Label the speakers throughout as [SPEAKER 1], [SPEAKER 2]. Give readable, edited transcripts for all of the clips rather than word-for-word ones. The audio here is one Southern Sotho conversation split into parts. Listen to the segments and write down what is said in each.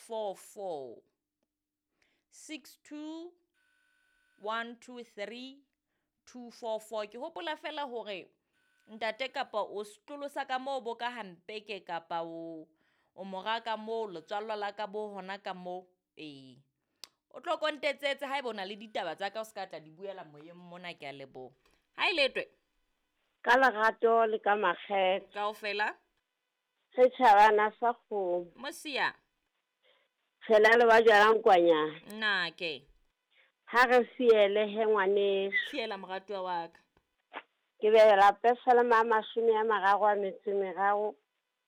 [SPEAKER 1] 244. 62 123 244. Ke hopola fela hore ntate kapa o setlolo sa ka moo bo ka hampeke kapa o o mora ka moo letswallo la ka bo hona ka moo. Ee, o tlo kontetsetse haeba o na le ditaba tsa ka o se ka tla di buela moyeng mona. Ke a leboha. Ha e letwe
[SPEAKER 2] Ka lerato le ka makgethe.
[SPEAKER 1] Kaofela.
[SPEAKER 2] Setjhabana sa kgomo.
[SPEAKER 1] Mosia.
[SPEAKER 2] Tshela le ba jalang kwanyana.
[SPEAKER 1] Nna ke.
[SPEAKER 2] Ha re fiele he ngwaneso.
[SPEAKER 1] Fiela moratuwa wa ka.
[SPEAKER 2] Ke bela Pesalema a 33,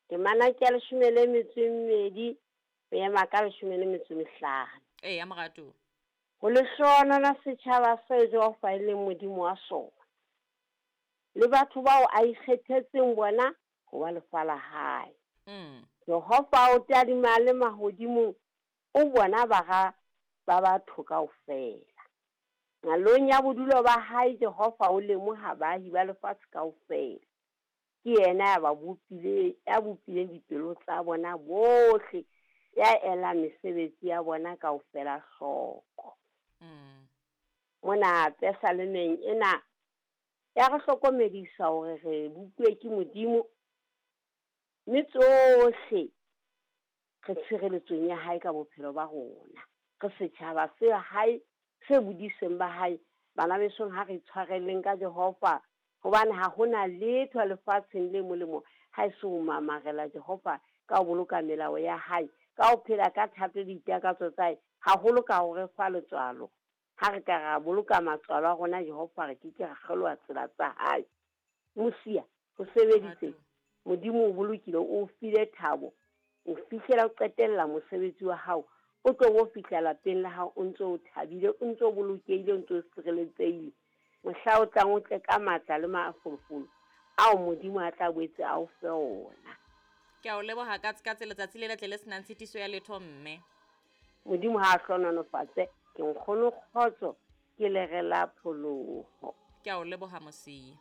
[SPEAKER 2] temana ke ya 12 ho ema ka 15.
[SPEAKER 1] Eya moratuwa.
[SPEAKER 2] Ho lehlohonolo setjhaba se Jehova e leng Modimo wa sona, le batho bao a ikgethetseng bona ho ba lefa la hae. Jehova o tadima le mahodimong, o bona bara ba batho kaofela. Nqalong ya bodulo ba hae Jehova o lemoha baahi ba lefatshe kaofela. Ke yena ya ba bopile, ya bopileng dipelo tsa bona bohle, ya elang mesebetsi ya bona kaofela hloko. Mona Pesalemeng ena ya re hlokomedisa hore re bopuwe ke Modimo, mme tsohle re tshireletsong ya hae ka bophelo ba rona. Re setjhaba se hae, se bodiseng ba hae. Bana besong, ha re tshwareleng ka Jehova, hobane ha hona letho lefatsheng le molemo ha e se ho mamarela Jehova ka ho boloka melao ya hae, ka ho phela ka thato le ditakatso tsa hae, haholo ka ho re fa letswalo. Ha re ka ra boloka matswalo a rona Jehova, re ke ke ra kgeloha tsela tsa hae. Mosia, ho sebeditse. Modimo o bolokile, o file thabo, o fihlela o qetella mosebetsi wa hao, o tlo bo fihla lapeng la hao o ntso o thabile, o ntso o bolokehile, o ntso o sireletsehile. Mohla o tlang o tle ka matla le mafolofolo ao Modimo a tla boetse a o fe ona.
[SPEAKER 1] Ke a o leboha ka tse letsatsi le letle le senang tshitiso ya letho mme.
[SPEAKER 2] Modimo ha a hlohonolofatse, ke nkgono kgotso, ke lere la pholoho.
[SPEAKER 1] Ke a o leboha Mosia.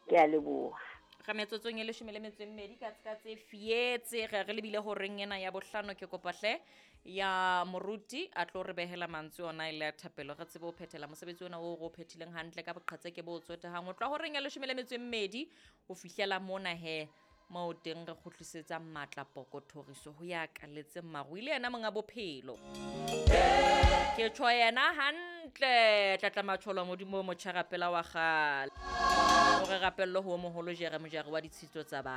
[SPEAKER 2] Ke a leboha.
[SPEAKER 1] Re metsotsong e 12 ka tse fietse re re lebile horeng ena ya bohlano. Ke kopa hle ya moruti a tlo re behela mantswe ona e le a thapelo, re tsebe ho phethela mosebetsi ona o re o phethileng hantle ka boqhetseke bo tsotehang ho tloha horeng ya 12 ho fihlela mona he moo teng re kgutlisetsang matla poko thoriso ho ya kaletseng maru ile yena monga bophelo. Ke tjho yena hantle tlatla matsholo a Modimo o motjha rapela wa kgale. O re rapelle ho moholo jere mojari wa ditshitso tsa ba.